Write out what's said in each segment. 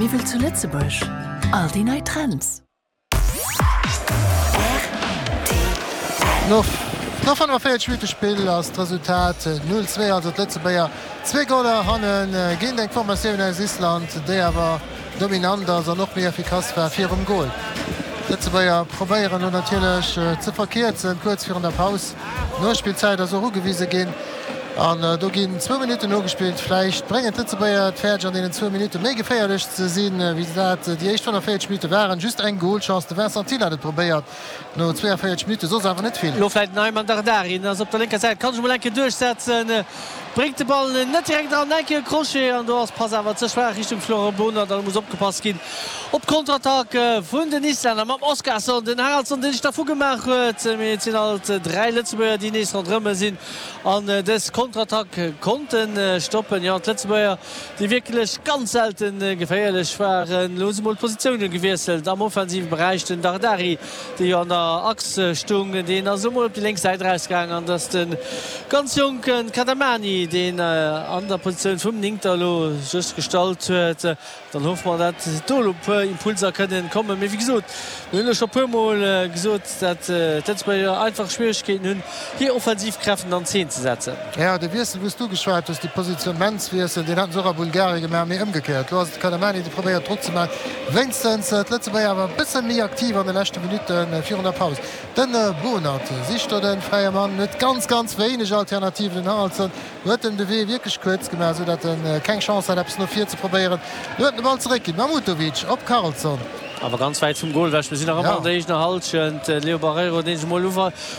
Miwwel zu Lëtzebuerg, all déi nei Trends. No 45 Minutte Spill ass d'Resultat 0, 2, also d'Lëtzebuerger zwee Goler hanne géint eng Formatioun aus Island, déi awer dominant ass an och méi effikass war virum Gol. D'Lëtzebuerger probéieren elo natierlech ze verkierzen, kuerz virun der Paus. D'Nospillzäit ass och ugewise ginn an do ginn zwou Minutten nogespillt. Vläicht bréngen d'Lëtzebuerger et fäerdeg an deenen zwou Minutte méi geféierlech ze sinn, wéi se dat déi éischt 45 Minutte waren. Just eng Golchance, de Vincent Thill hat et probéiert no 42 Minutte, soss awer net vill. Elo vläicht den Ayman Dardari, den ass op der lénker Säit, kann sech emol eng Kéier duerchsetzen, bréngt de Ball net direkt eran, eng Kéier e Crochet an do ass d'Pass awer ze schwaach Richtung Florent Bonert an et muss opgepasst ginn. Op d'Kontrattack vun den Islänner mam Oskarsson, den Haraldsson dee sech dervu gemaach huet, mee et sinn alt 3 Lëtzebuerger déi nees ronderëm sinn an dës Kontrattack konnte stoppen. Jo, d'Lëtzebuerger déi wierklech ganz selte geféierlech waren. Elo hu se mol d'Positioune gewiesselt am offensive Beräich. Den Dardari dee jo an der Achs stung, deen ass elo mol op déi lénk Säit erausgaang an dass de ganz jonke Kadamani deen an der Positioun vum Néngter elo sech gestallt huet. Dann hoffe mer, dat do elo e puer Impulser kënnen kommen. Mee wéi gesot, mir hunn elo scho e puermol gesot, dat d'Lëtzebuerger einfach Schwieregkeeten hunn, hir Offensivkräften an Zeen ze setzen. Jo, de Wiessel, wou s du geschwat hues, de Positionnementswiessel, deen haten se och a Bulgarien gemaach, mee ëmgekéiert. Elo ass et de Kadamani, dee probéiert Drock ze maachen. Wéinstens d'Lëtzebuerger awer e bësse méi aktiv an de leschte Minutte virun der Paus. Den Bohnert sicht do de fräie Mann, huet ganz, ganz wéineg Alternativen. Den Haraldsson Huet em de Wee wierklech kuerz gemaach, sou dat en keng Chance hat eppes no vir ze probéieren. Lo huet en de Ball zeréck ginn. Mahmutovic op Karlsson. Awer ganz wäit vum Gol ewech. Mir sinn nach ëmmer an der eegener Hallschent. De Leo Barreiro, deen sech emol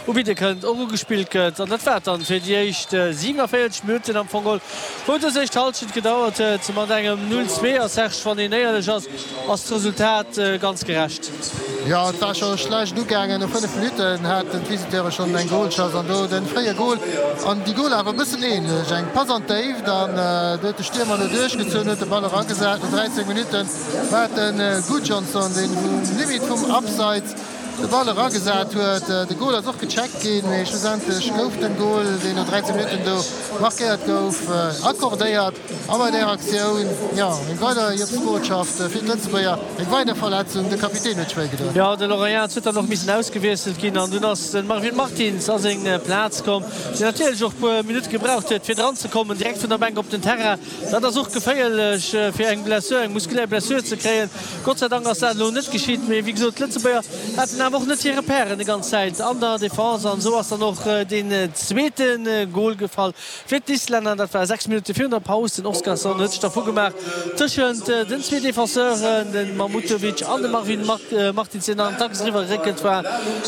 ubidde kënnt, och ugespillt gëtt. An dat war et dann fir déi éischt 47 Minutten am Fong geholl, wou dës éischt Hallschent gedauert huet. Mat engem 0, 2. A Serge, wann een éierlech ass, ass d'Resultat ganz gerecht. Jo, et war scho schlecht ugaangen. No 5 Minutten haten d'Visiteure schonn eng Golchance an do de fréie Gol. An déi Goler awer e bëssen änlech. Eng Pass an d'Déift an do huet de Stiermer elo duerchgezunn, huet de Ball eragesat. No 13 Minutte war et de Gudjohnsen, deen um Limit vum Abseits de Ball eragesat huet. De Gol ass och gecheckt ginn, mee schlussendlech gouf den Gol, deen no 13 Minutten do markéiert gouf, accordéiert. A bei där Aktioun, jo, eng weider Jëpsbotschaft fir d'Lëtzebuerger, eng weider Verletzung, de Kapitän huet sech wéi gedoen. Jo, de Laurent Jans huet dann och missen ausgewiesselt ginn an dunn ass de Marvin Martins a seng Plaz komm, deen natierlech och e puer Minutte gebraucht huet, fir dran ze kommen, direkt vun der Bänk op den Terrain. Dat ass och geféierlech, fir eng Blessure, eng muskulär Blessure ze kréien. Gott sei Dank ass dat elo net geschitt, mee wéi gesot, d'Lëtzebuerger haten awer och net hir Repairen déi ganz Zäit an der Defense an esou ass dann och deen zweete Gol gefall. Fir d'Islänner, dat war 6 Minutte virun der Paus, den Oskarsson huet sech dervu gemaach tëschent den zwee Defenseuren, de Mahmutovic an de Marvin Martins, deen an d'Achs eriwwer geréckelt war.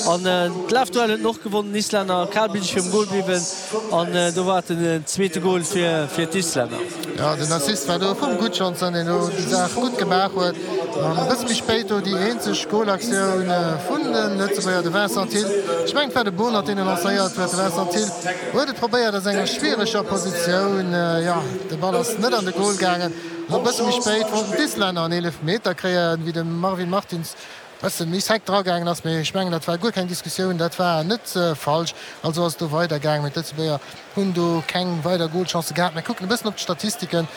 An d'Lafduell huet en och gewonnen, den Islänner. Kalbliddeg virum Gol bliwwen an do war et den zweete Gol fir d'Islänner. Jo, den Assist war do vum Gudjohnsen, deen do déi Saach gutt gemaach huet. An e bësse méi spéit do déi eenzeg Golaktioun vun de Lëtzebuerger, de Vincent Thill. Ech mengen, et war de Bonert, deen e lancéiert huet. De Vincent Thill huet et probéiert aus enger schwiereger Positioun. Jo, de Ball ass net an de Gol gaangen. An e bësse méi spéit wollten d'Islänner en Eelefmeter kréien, wéi de Marvin Martins Bëssen méi sec dragaangen ass, mee ech mengen dat war guer keng Diskussioun, dat war net falsch. Also ass et do weider gaangen, mee d'Lëtzebuerger hunn do keng weider Golchancë gehat. Mir kucken e bëssen op d'Statistiken,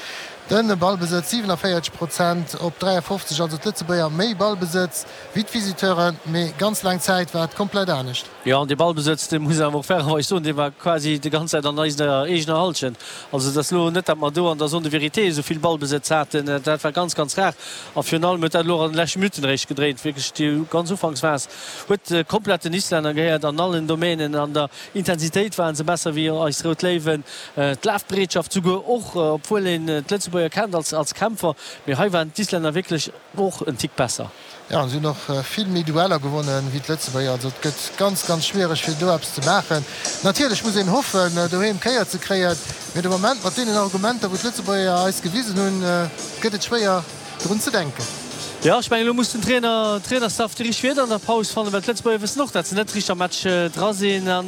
de Ballbesëtz 47 Prozent op 53, also d'Lëtzebuerger méi Ballbesëtz wéi d'Visiteuren, mee ganz laang Zäit war et komplett anescht. Jo, an dee Ballbesëtz, dee muss een awer och fairerweis soen, dee war quasi déi ganz Zäit an eiser eegener Hallschent. Also et ass elo net, datt mer do an der Zone de vérité esou vill Ballbesëtz haten, dat war ganz, ganz rar. A virun allem huet dat elo och an de leschte Minutten eréischt gedréint. Wierklech déi ganz Ufanksphas huet komplett den Islänner gehéiert an allen Domänen. An der Intensitéit waren se besser wéi eis Rout Léiwen. D'Lafbereetschaft souguer och, obwuel een d'Lëtzebuerger kennt als Kämpfer. Mee hei waren d'Islänner wierklech och en Tick besser. Jo, an se hunn och vill méi Dueller gewonnen wéi d'Lëtzebuerger. Also et gëtt ganz, ganz schwiereg fir do eppes ze maachen. Natierlech muss een hoffen doheem Kéier ze kréien, mee de Moment mat deenen Argumenter wou d'Lëtzebuerger eis gewisen hunn, gëtt et schwéier drun ze denken. Jo, ech mengen elo muss den Trainer, Trainerstaff déi richteg Wierder an der Paus fannen, well d'Lëtzebuerger wëssen och, dat se net richteg am Match dra sinn an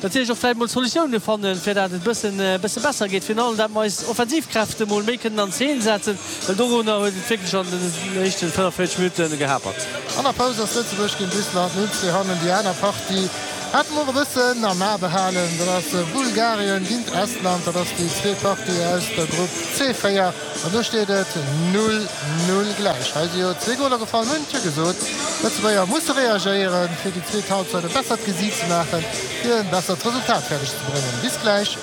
natierlech och vläicht mol Solutioune fannen, fir dat et e bëssen, e bësse besser geet. Virun allem, dat mer eis Offensivkräfte mol méi kënnen an Zeen setzen, well dorunner huet et wierklech an den éischten 45 Minutte gehapert. An der Paus ass Lëtzebuerg géint Island 0, 2 hannen. Déi aner Partie. Hate mer och e bëssen am A behalen, dat ass Bulgarien géint Estland. Dat ass déi zweet Partie aus der Grupp C4 an do steet et 0, 0 gläich. Hei si jo zwee Goler gefall, mir hunn et jo gesot, d'Lëtzebuerger musse reagéieren, fir déi zweet Halbzeit e bessert Gesiit ze maachen, fir e bessert Resultat fäerdeg ze bréngen. Bis gläich.